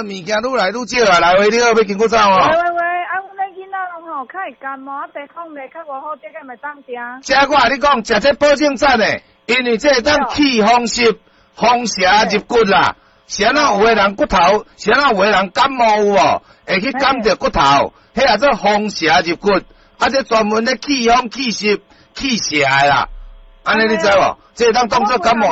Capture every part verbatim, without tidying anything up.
物件愈來愈少啊！來喂，你好，欲筋骨草哦。喂喂喂，啊，阮的囡仔攏吼較會感冒，啊，地風咧較無好，這個會當定。這我共你講，食這保證讚的，因為這會當去風濕、風邪入骨啦。是按怎有的人骨頭，是按怎有的人感冒有無？會去感著骨頭，彼叫做風邪入骨，啊，這專門咧去風、去濕、去邪的啦。按呢你知無？這會當當做感冒，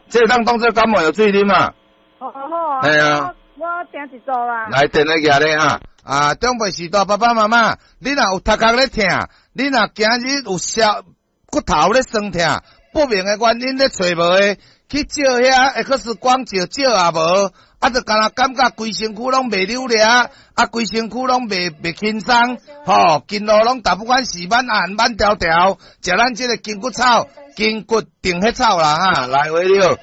這會當當做感冒藥水啉啊。好好啊。嘿啊。我訂一組啦。來，電話舉咧哈。啊，長輩時代爸爸媽媽，你若有頭殼咧疼，你若今日有小骨頭咧酸疼，不明的原因咧揣無的，去照遐 X 光照照也無，啊，就敢若感覺規身軀攏袂扭掠，啊，規身軀攏袂袂輕鬆，吼，筋路攏逐不管是挽按挽條條，食咱這個筋骨草、筋骨定血草啦哈，來喂你好。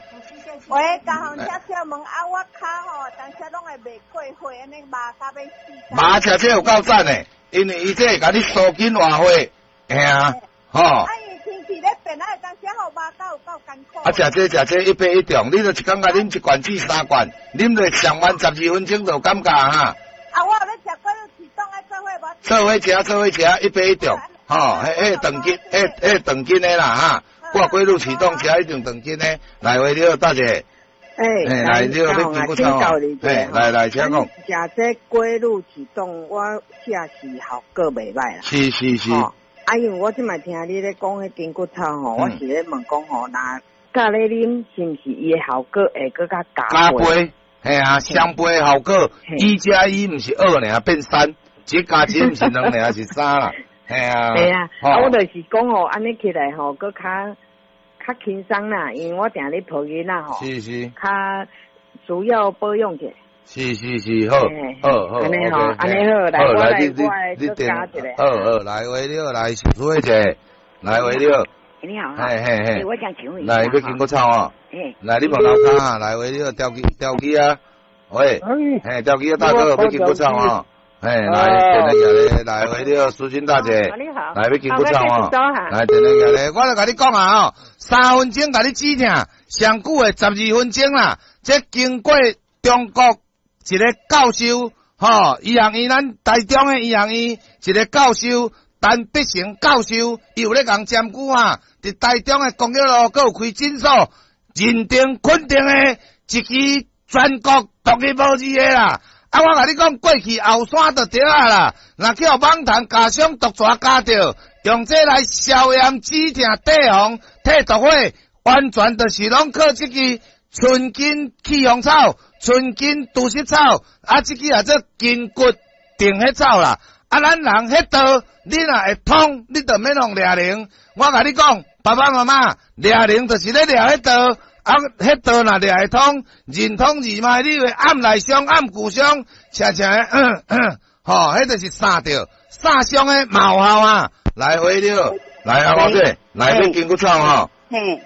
喂，家雄，請請問啊，我跤吼，當時攏會袂過火，按呢麻甲欲死。麻食這有夠讚的，因為伊這會共你舒筋活血，嘿啊，吼。啊，伊天氣咧變，啊，當時吼麻甲有夠艱苦。啊，食這食這一百一中，你就一工共啉一罐至三罐，啉落上晚十二分鐘就有感覺哈。啊，我有咧食過啟動愛做伙無？做伙食，做伙食，一百一中，吼，彼彼長筋，彼彼長筋的啦哈。掛龜鹿啟動食一定長筋的，來喂你好，大姐。欸，來，你好，欲筋骨草哦。欸，來來，請講。食這龜鹿啟動，我食是效果袂䆀啦。是是是。啊，因為我這擺聽你咧講彼筋骨草吼，我是咧問講吼，若佮咧啉，是毋是伊的效果會閣較加加倍？嘿啊，雙倍效果，一加一毋是二爾，變三，一加一毋是兩爾，是三啦。嘿啊。嘿啊，啊，我就是講吼，按呢起來吼，閣較較輕鬆啦，因為我定咧抱囡仔吼，是是，較需要保養者。是是是，好，好好，按呢吼，按呢好，來，我來，我來，你加一下。好好，來喂你好，來蘇慧姐，來喂你好。你好，嘿嘿嘿，我想請問一下，來欲筋骨草哦，來你問樓跤啊，來喂你好，吊機吊機啊，喂，嘿，吊機啊大哥欲筋骨草哦。嘿，來，電話來，來喂你好，淑君大姐，你好，來欲筋骨草哦，來電話來，我就共你講啊吼，三分鐘共你止疼，上久的十二分鐘啦。這經過中國一個教授，吼，醫學院咱台中的醫學院一個教授陳德成教授，伊有咧共針灸啊，佇台中的光玉路閣有開診所，認定肯定的一支全國獨一無二的啦。啊！我共你講，過去後山就對啊啦，若去予蠓蟲咬傷、毒蛇咬著，用這來消炎止疼、退紅、退毒火，完全就是攏靠這支春筋去風草、春筋除濕草，啊，這支叫做筋骨定血草啦。啊，咱人彼道，你若會通，你就免予掠靈。我共你講，爸爸媽媽掠靈就是咧掠彼道。啊，彼道若掠會通，任通二脈，你會按內傷、按骨傷，捙捙吼，彼就是捒著，捒傷的嘛有效啊！來回了，來啊，我姐，來欲筋骨草吼，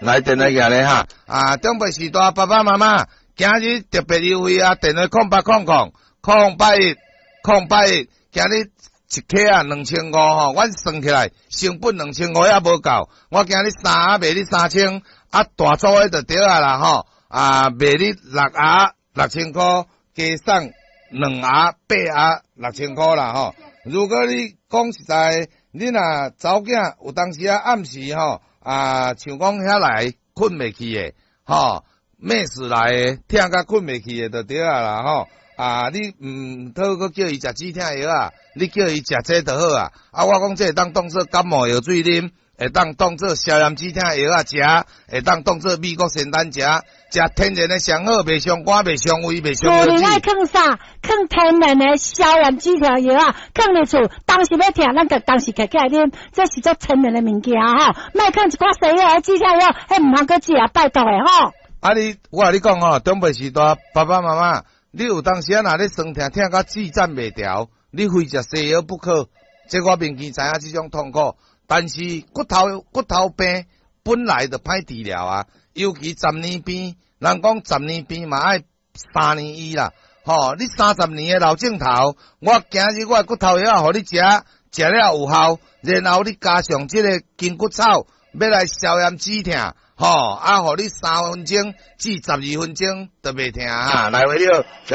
來電話寄來哈。啊，長輩時代爸爸媽媽，今日特別優惠啊！電話空八空空空八一空八一，今日一克啊兩千五吼，阮算起來成本兩千五也無夠，我今日三盒賣你三千。啊，大組的就對啊啦吼，啊賣你六盒六千箍，加送兩盒八盒六千箍啦吼。如果你講實在，你若查某囝有當時啊暗時吼，啊像講遐來睏袂去的吼，咩事來的，疼甲睏袂去的就對啊啦吼。啊，你毋通閣叫伊食止疼藥啊，你叫伊食這就好啊。啊，我講這會當當做感冒藥水啉。會當當做消炎止疼藥仔食，會當當做美國仙丹食，食天然的上好，袂傷肝，袂傷胃，袂傷腰厝裡愛囥啥？囥天然的消炎止疼藥仔，囥佇厝，當時欲疼，咱就當時摕起來啉，這是足天然的物件吼。莫囥一寡西藥止疼藥，彼毋通閣食，拜託的吼。啊你，我共你講吼，長輩時代爸爸媽媽，你有當時啊，若咧酸疼疼甲舌戰袂牢，你非食西藥不可。這我明顯知影這種痛苦。但是骨頭骨頭病本來就歹治療啊，尤其十年病，人講十年病嘛愛三年醫啦。吼，你三十年的老症頭，我今日我的骨頭藥予你食，食了有效，然後你加上這個筋骨草，欲來消炎止疼，吼，啊，予你三分鐘至十二分鐘都袂疼哈。來，回了。